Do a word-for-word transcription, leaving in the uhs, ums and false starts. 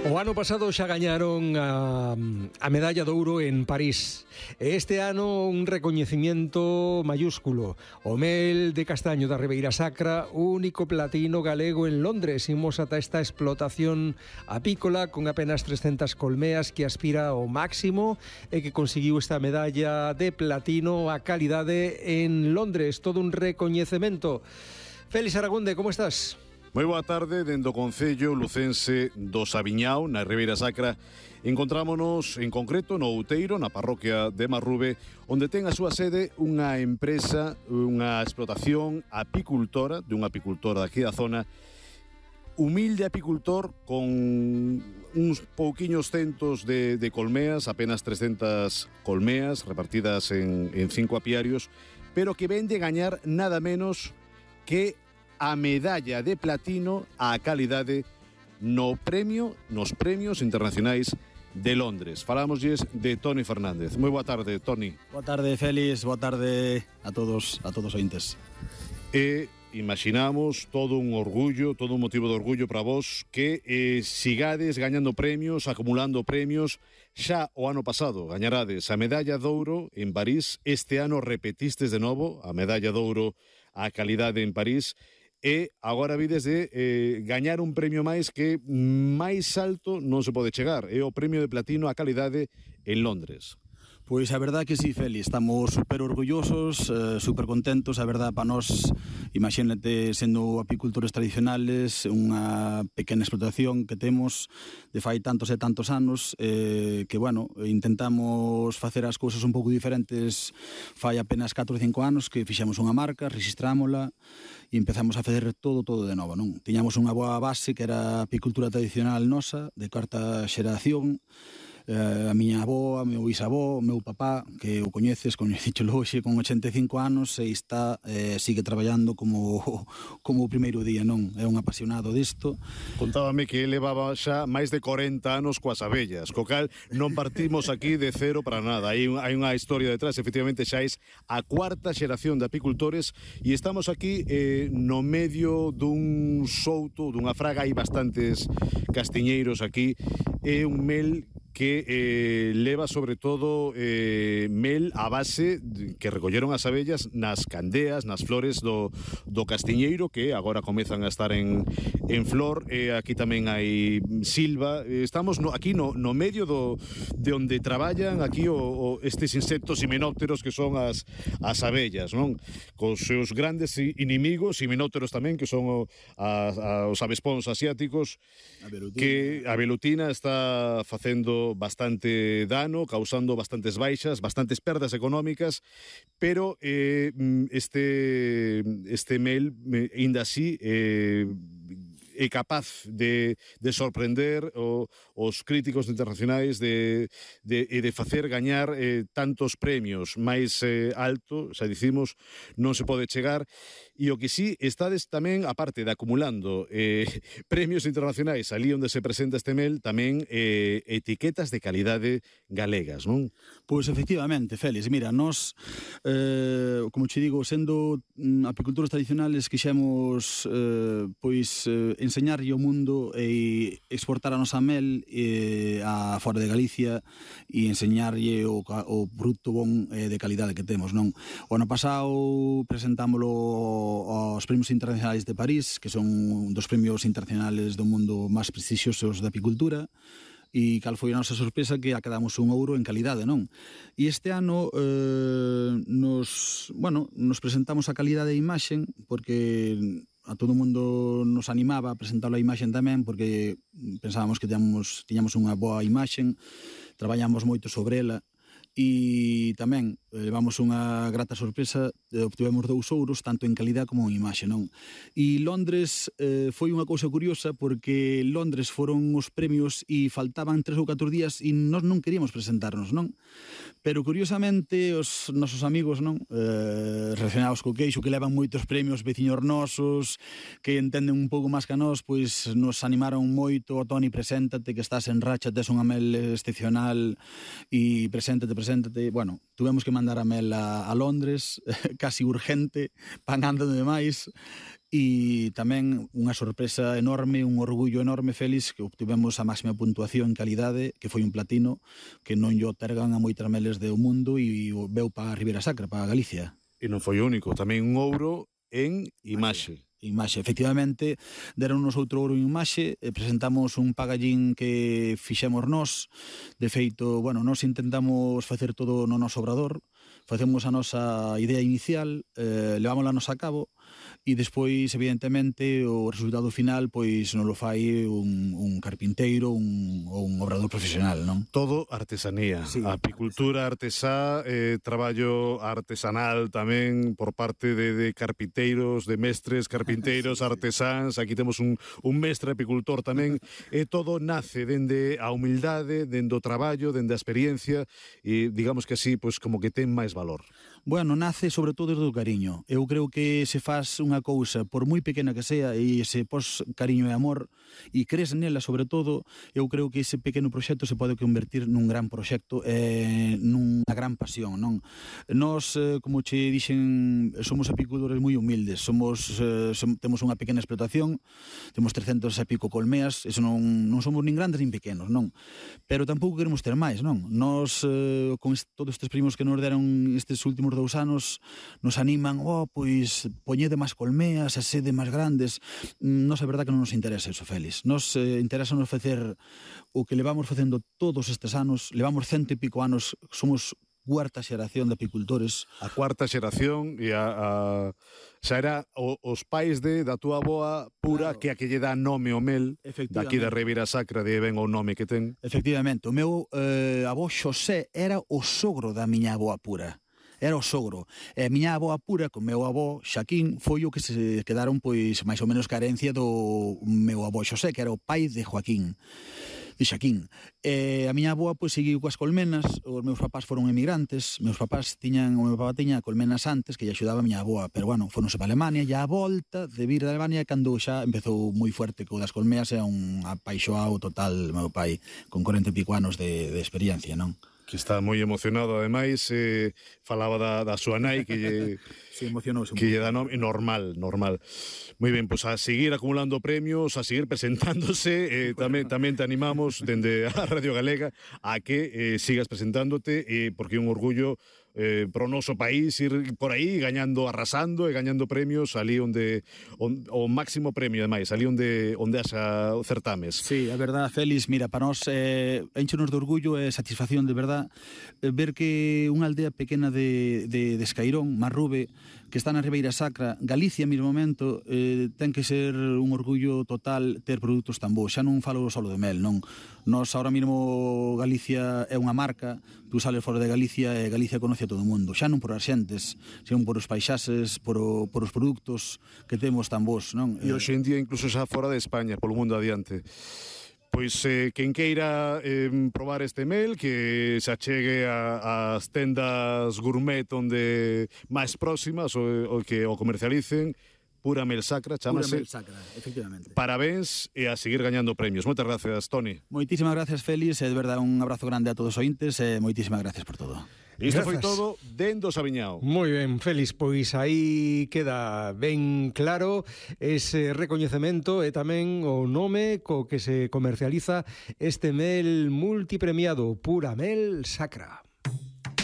O ano pasado xa gañaron a, a medalla de ouro en París. E este ano un recoñecimiento mayúsculo. O mel de castaño da Ribeira Sacra, único platino galego en Londres. Imos ata esta explotación apícola con apenas trescentas colmeas que aspira ao máximo e que conseguiu esta medalla de platino a calidade en Londres. Todo un recoñecemento. Félix Aragonde, como estás? Moi boa tarde, dende o Concello lucense do Sabiñao, na Ribeira Sacra. Encontrámonos en concreto no Outeiro, na parroquia de Marrube, onde ten a súa sede unha empresa, unha explotación apicultora, dunha apicultora daqui da zona, humilde apicultor con uns pouquiños centos de, de colmeas, apenas trescentas colmeas repartidas en, en cinco apiarios, pero que vende gañar nada menos que a medalla de platino á calidade no premio, nos premios internacionais de Londres. Falámoslles de Toni Fernández. Moi boa tarde, Toni. Boa tarde, Félix. Boa tarde a todos, a todos os ointes. E imaginamos todo un orgullo, todo un motivo de orgullo para vos que eh, sigades gañando premios, acumulando premios. Xa o ano pasado gañarades a medalla de ouro en París. Este ano repetistes de novo a medalla de ouro á calidade en París. E agora vides de eh, gañar un premio máis que máis alto non se pode chegar. É o premio de platino á calidade en Londres. Pois a verdad que sí, Félix, estamos super orgullosos, eh, super contentos. A verdad, para nós, imagínate, sendo apicultores tradicionales, unha pequena explotación que temos de fai tantos e tantos anos, eh, que, bueno, intentamos facer as cousas un pouco diferentes fai apenas catro ou cinco anos, que fixemos unha marca, registrámola e empezamos a facer todo, todo de novo, non? Tiñamos unha boa base que era a apicultura tradicional nosa, de cuarta xeración, Uh, a miña avó, a meu bisavó, o meu papá, que o coñeces, coñecíchelo hoxe con ochenta e cinco anos e está, eh, sigue traballando como, como o primeiro día, non? É un apasionado disto. Contábame que levaba xa máis de corenta anos coas abellas, co cal non partimos aquí de cero para nada. Hai, hai unha historia detrás, efectivamente xa é a cuarta xeración de apicultores e estamos aquí eh, no medio dun souto, dunha fraga, hai bastantes castiñeiros aquí, é un mel que eh, leva sobre todo eh, mel a base que recolleron as abellas nas candeas, nas flores do, do castiñeiro, que agora comezan a estar en, en flor. Eh, aquí tamén hai silva. Eh, estamos no, aquí no, no medio do, de onde traballan aquí o, o, estes insectos himenópteros que son as, as abellas, non? Cos seus grandes inimigos, himenópteros tamén, que son o, a, a, os avespóns asiáticos, a que a velutina está facendo bastante dano, causando bastantes baixas, bastantes perdas económicas, pero eh, este este mel, ainda así, eh, é capaz de, de sorprender o, os críticos internacionais de, de, e de facer gañar eh, tantos premios máis eh, alto, xa dicimos, non se pode chegar. E o que sí, estades tamén, aparte de acumulando eh, premios internacionais ali onde se presenta este mel, tamén eh, etiquetas de calidade galegas, non? Pois efectivamente, Félix, mira, nós, eh, como che digo, sendo mm, apicultores tradicionales, quixemos eh, pois eh, enseñarlle ao mundo e exportar a nosa mel eh, a fora de Galicia e enseñarlle o, o produto bon eh, de calidade que temos, non? O ano pasado presentámolo aos premios internacionais de París, que son un dos premios internacionales do mundo máis prestixiosos da apicultura, e cal foi a nosa sorpresa que acadamos un ouro en calidade, non? E este ano eh, nos, bueno, nos presentamos a calidade de imaxen porque a todo o mundo nos animaba a presentar a imaxen tamén porque pensábamos que tiñamos, tiñamos unha boa imaxen, traballamos moito sobre ela e tamén levamos unha grata sorpresa, obtivemos dous ouros tanto en calidad como en imaxe, non? E Londres eh, foi unha cousa curiosa porque Londres foron os premios e faltaban tres ou catro días e nós non queríamos presentarnos, non? Pero curiosamente os nosos amigos, non? Eh, relacionados co queixo, que levan moitos premios, veciños nosos, que entenden un pouco máis que a nós, pois nos animaron moito. Toni, preséntate, que estás en racha, tes unha mel excepcional e preséntate, preséntate. Bueno, tuvemos que mandar a mel a, a Londres, casi urgente, pagando demais. e tamén unha sorpresa enorme, un orgullo enorme, Félix, que obtivemos a máxima puntuación en calidade, que foi un platino, que non lle otorgan a moitas meles do mundo e veu para a Ribeira Sacra, para Galicia. E non foi o único, tamén un ouro en imaxe. Imaxe, efectivamente, deronnos outro ouro en imaxe, e presentamos un pagallín que fixemos nós. De feito, bueno, nós intentamos facer todo no noso obrador, facemos a nosa idea inicial, eh, levámola nos a cabo, e despois, evidentemente, o resultado final pois non lo fai un, un carpinteiro un, ou un obrador profesional, non? Todo artesanía, Sí, apicultura artesá, eh, traballo artesanal tamén por parte de, de carpinteiros, de mestres, carpinteiros, artesáns. Aquí temos un, un mestre apicultor tamén. E todo nace dende a humildade, dende o traballo, dende a experiencia, e digamos que así, pois como que ten máis valor. Bueno, nace sobre todo desde o cariño. Eu creo que se faz unha cousa, por moi pequena que sea, e se pos cariño e amor, e crees nela sobre todo, eu creo que ese pequeno proxecto se pode convertir nun gran proxecto, eh, nunha gran pasión, non? Nós, eh, como che dixen, somos apicultores moi humildes, somos, eh, som, temos unha pequena explotación, temos trescentos e pico colmeas, eso non, non somos nin grandes nin pequenos, non? Pero tampouco queremos ter máis, non? Nós, eh, con est, todos estes primos que nos deron estes últimos dous anos, nos animan, oh, pois, poñede máis colmeas, a sede máis grandes. Nos, é verdad que non nos interesa eso, Félix. Nos eh, interesa nos facer o que levamos facendo todos estes anos, levamos cento e pico anos, somos cuarta xeración de apicultores. A cuarta xeración e a, a xa era o, os pais de da túa avoa pura, claro, que a que lle dá nome o mel, daqui da Ribeira Sacra, de ben o nome que ten. Efectivamente, o meu eh, avó Xosé era o sogro da miña avoa pura. Era o sogro. E a miña avoa pura, con meu avó Xaquín, foi o que se quedaron pois máis ou menos ca herencia do meu avó Xosé, que era o pai de Joaquín, de Xaquín. E a miña avoa pois seguiu coas colmenas, os meus papás foron emigrantes, meus papás tiñan, o meu papá tiña colmenas antes que lle axudaba a miña avoa, pero bueno, foronse para Alemania, e a volta de vir de Alemania cando xa empezou moi fuerte co das colmeas, e un apaixoado total meu pai, con corenta e pico anos de, de experiencia, non? Que está moi emocionado, ademais, eh, falaba da, da súa nai, que lle, sí, emocionouse que lle dá nome, normal, normal. Moi ben, pois pues a seguir acumulando premios, a seguir presentándose, eh, tamén, tamén te animamos, dende a Radio Galega, a que eh, sigas presentándote, eh, porque é un orgullo eh, pro noso país ir por aí gañando, arrasando e gañando premios ali onde on, o máximo premio, ademais, ali onde onde haxa certames. Sí, a verdad, Félix, mira, para nós eh, enchenos de orgullo e satisfacción de verdad eh, ver que unha aldea pequena de, de, de Escairón, Marrube, que está na Ribeira Sacra, Galicia, mesmo momento, eh, ten que ser un orgullo total ter produtos tan bons. Xa non falo só de mel, non? Nós, ahora mesmo, Galicia é unha marca, tú sales fora de Galicia e Galicia conoce a todo o mundo. Xa non por as xentes, senón por os paisaxes, por, o, por os produtos que temos tan bons, non? E hoxe en día, incluso xa fora de España, polo mundo adiante. Pois eh, quen queira eh, probar este mel, que se achegue ás tendas gourmet onde máis próximas o, o que o comercialicen. Pura Mel Sacra, chámase. Pura Mel Sacra, efectivamente. Parabéns e a seguir gañando premios. Moitas gracias, Toni. Moitísimas gracias, Félix, e de verdade un abrazo grande a todos os ointes e moitísimas gracias por todo. Isto foi todo dentro do Sabiñao. Moi ben, Félix, pois aí queda ben claro ese recoñecemento e tamén o nome co que se comercializa este mel multipremiado, Pura Mel Sacra.